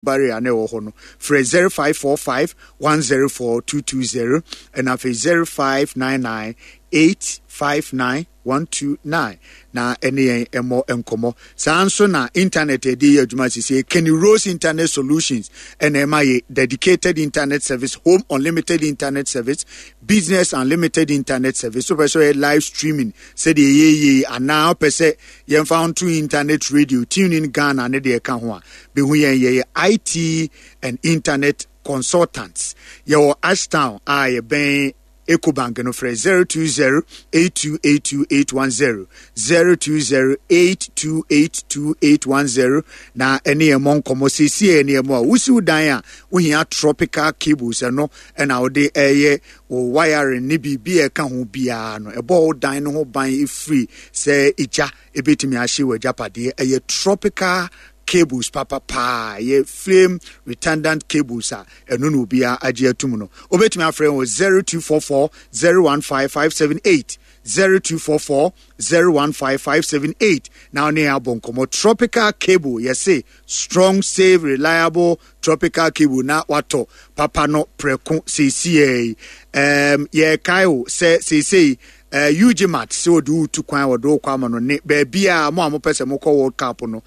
Barrier na ɛwɔ hɔ no, frɛ 0545 104 220 ɛna afei 0599 859 129 na ɛne yɛn mmɔ nkɔmmɔ. Saa nso na internet a yɛde yɛ adwuma sisi Kenny Rose Internet Solutions ɛna ɛma yɛ dedicated internet service, home unlimited internet service, business unlimited internet service. Wopɛ sɛ ɔyɛ live streaming sɛdeɛ ɛyɛ yie anaa wopɛ sɛ yɛmfa nto internet radio, tune in Ghana ne deɛ ɛka ho a, bɛhu yɛn. Yɛyɛ IT and internet consultants. Yɛwɔ Ashtown a yɛbɛn Ecobank no, frɛ 020 8282 810, 020 8282 810 na ɛne yɛn mmɔ nkɔmmɔ. Seesie ɛne yɛn a wosiw dan a wohia tropical cables, ɛno ɛna wode ɛyɛ wo wiring ne biribi a ɛka ho biara no, ɛbɔ wo dan no ho ban ɛfiri sɛ egya ɛbɛtumi ahye wɔ agyapadeɛ. Ɛyɛ tropical cables papapaa, ɛyɛ flame retardant cables a ɛno na obiara agye atum no. Wobɛtumi afrɛ wɔ 0244 015 578, 0244 015 578 na wo ne yɛn abɔ nkɔmmɔ. Tropical cable, yɛse strong, safe, reliable tropical cable na watɔ papa no prɛko seesiei. Yɛkae o sɛ seesei UGMAT sɛ wɔde wo tu kwan, wɔde wo kɔ ama no ne baabi a mo a mopɛ sɛ mokɔ World Cup no,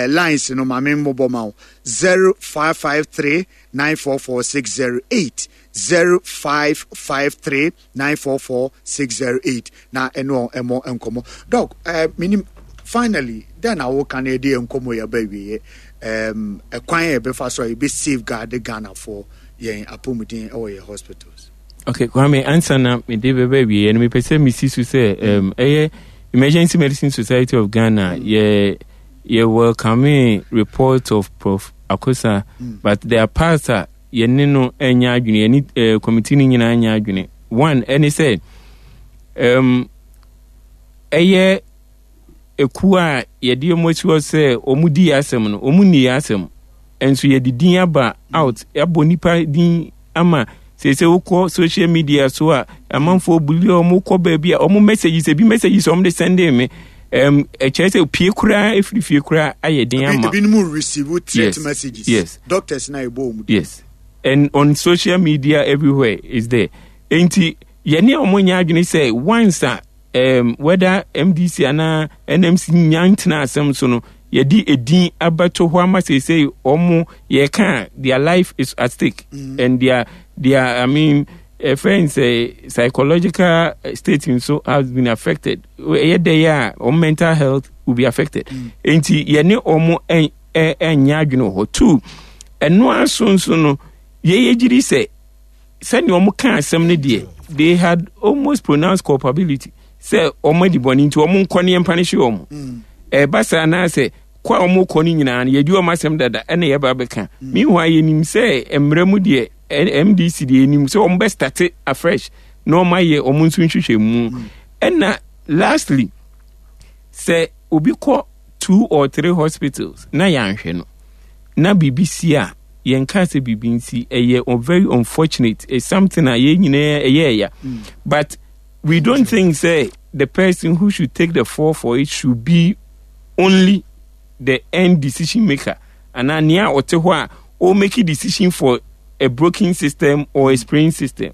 lines no ma me mmobɔ ma wo: 0553 944 608, 0553 944 608 na ɛne wɔn ɛmmɔ nkɔmmɔ. Doc, menim finally dɛn na woka no yɛde yɛn nkɔmmɔ yi aba awieɛ, ɛkwan a yɛbɛfa so a yɛbɛ safeguard Ghanafoɔ yɛn apɔmuden ɛwɔ yɛn hospitals? Okay, Kwame, ansa na mede bɛbɛ awieɛ no, mepɛ sɛ mesi so sɛ ɛyɛ Emergency Medicine Society of Ghana, yɛ welcome report of Prof Akosa, but there are parts a yɛne no anya adwene, yɛne committee no nyinaa anya adwene. One ɛne sɛ ɛyɛ ekuo a yɛde wɔn asi hɔ sɛ wɔn di yɛ asɛm no, wɔn nni yɛ asɛm, nso yɛde din aba out, abɔ nipa din ama sese wokɔ social media so a, amanfoɔ bully wɔn, kɔ baabi a wɔn messages, ebi messages wɔn de send me, ɛkyerɛ sɛ pie koraa efiri fie koraa ayɛ den ama. Ebinom receive threat messages. Doctors na ɛbɔ wɔn din. Yes, and on social media everywhere is there. Nti yɛne wɔn nyɛ adwene sɛ once a whether MDC anaa NMC nya ntena asɛm so no, yɛde edin abɛto hɔ ama seesei wɔn yɛka, their life is at stake and their, I mean, friends, psychological state nso has been affected. Ɛyɛ dɛ yɛ a wɔn mental health will be affected. Nti yɛne wɔn ɛnyɛ adwene wɔ hɔ. Two, ɛno aso nso no, yɛyɛ gyiri sɛ sɛnea wɔn ka asɛm no deɛ, they had almost pronounced culpability sɛ wɔn adi bɔne nti wɔn nkɔ ne yɛmpa no hye wɔn. Ɛba saa anaasɛ kɔ a wɔn kɔ no nyinaa no, yɛdi wɔn asɛm dada ɛna yɛba bɛka. Meanwhile, yɛnim sɛ mmerɛ mu deɛ, MDC deɛ, yɛnim sɛ wɔn bɛ start afresh na wɔn ayɛ wɔn nso nhwehwɛ mu. Ɛna lastly, sɛ obi kɔ two or three hospitals na yɛanhwɛ no na biribi si a, yɛnka sɛ biribi nsi, ɛyɛ very unfortunate. It's something a yɛn nyinaa ɛyɛ ɛya, but we don't think say the person who should take the fall for it should be only the end decision maker anaa nea ɔte hɔ a o make decision for a broken system or a sprained system.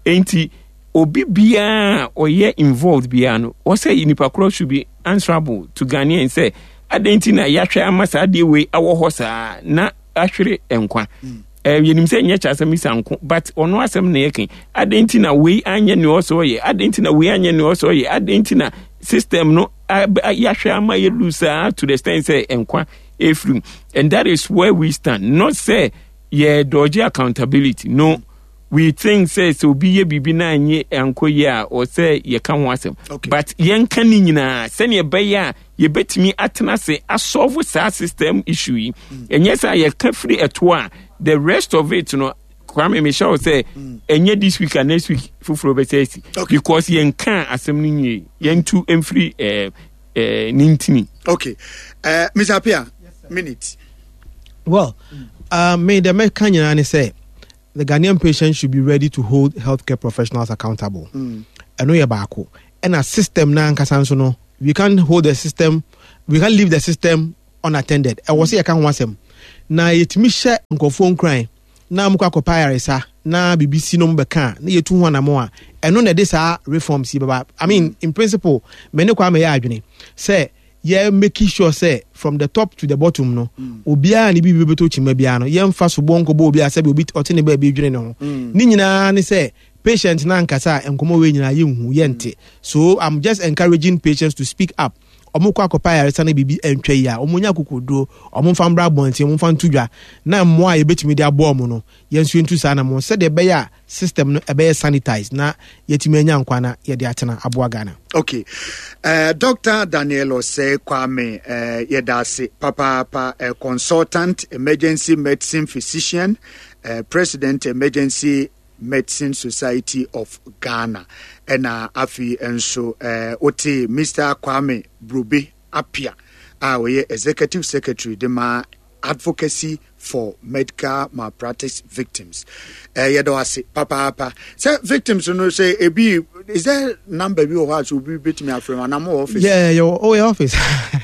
Enti obi biara a ɔyɛ involved biara no, wɔsɛ nipa korɔ should be answerable to Ghanaians sɛ adɛn nti na yɛahwɛ ama saa adeɛ wei awɔ hɔ saa na ahwere nkwa. Yɛnim sɛ nyɛ kyɛ asɛm isa nko, but ɔno asɛm na yɛka. Adɛn nti na wei anyɛ nea ɔsɛ ɔyɛ? Adɛn nti na wei anyɛ nea ɔsɛ ɔyɛ? Adɛn nti na system no yɛahwɛ ama yɛ lose saa to the extent sɛ nkwa efiri mu? And that is where we stand. Not sɛ yɛ dodge accountability, no. We think sɛ obi yɛ biribi na nye ankɔ yie a, ɔsɛ yɛka ho asɛm, but yɛnka ne nyinaa sɛnea ɛbɛyɛ a yɛbɛtumi atena ase asolve saa system issue yi. Ɛnyɛ sɛ yɛka firi ɛto a, the rest of it no, Kwame, mehyɛ wo sɛ ɛnyɛ this week and next week foforɔ bɛsɛ asi because yɛnka asɛm no nwie, yɛntu mfiri ne ntini. Okay, Mr. Apia, minute. Well, me the mɛka nyinaa ne sɛ the Ghanaian patient should be ready to hold healthcare professionals accountable. Ɛno yɛ baako. Ɛna system na ankasa nso no, we can't hold the system, we can't leave the system unattended. Ɛwɔ sɛ yɛka ho asɛm. Na yɛtumi hyɛ nkurɔfoɔ nkuran na wɔkɔ akɔpɛ ayaresa na biribi si na wɔbɛka a, na yɛtu ho anammɔn a, ɛno na ɛde saa reforms yi bɛba. I mean, in principle, me ne Kwame yɛ adwene sɛ yɛ make sure sɛ from the top to the bottom no, obiara ne biribi bɛtɔ kyima biara no, yɛmfa soboɔ nkɔbɔ obiara sɛbi obi ɔte ne baabi dwene ne ho. Ne nyinaa ne sɛ patient no ankasa a nkɔmmɔ wei nyinaa yɛnhu, yɛnte. So I'm just encouraging patients to speak up. Wɔn kɔ akɔpɛ ayaresa na biribi antwa yie a, wɔn nya akokoduro, wɔn mfa mbra abɔnten, wɔn mfa nto dwa, na mmoa a yɛbɛtumi de aboa wɔn no, yɛn nso yɛntu saa anamɔn sɛdeɛ ɛbɛyɛ a system no ɛbɛyɛ sanitized na yɛatumi anya nkwa na yɛde atena aboa Ghana. Okay. Dr. Daniel Osei Kwame, yɛda ase papaapa, consultant emergency medicine physician, president emergency Medicine Society of Ghana. Ɛna afei nso wote Mister Kwame Brobe Appiah a ɔyɛ Executive Secretary de ma Advocacy for Medical Malpractice Victims. Yɛda wo ase papaapa. Sɛ victims no sɛ ebi is there number bi wɔ hɔ a sɛ obi betumi afrɛ mu anaa mo wɔ office? Yeah, yɛ oh, yɛ office.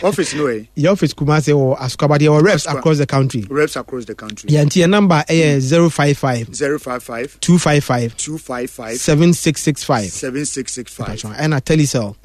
Office no ɛ? Yɛ office Kumasi wɔ Asukwa, but yɛwɔ reps across the country. Reps across the country. Yeah, nti yɛ number ɛyɛ 055 055 255 255 7665 7665. Ɛna Telecel.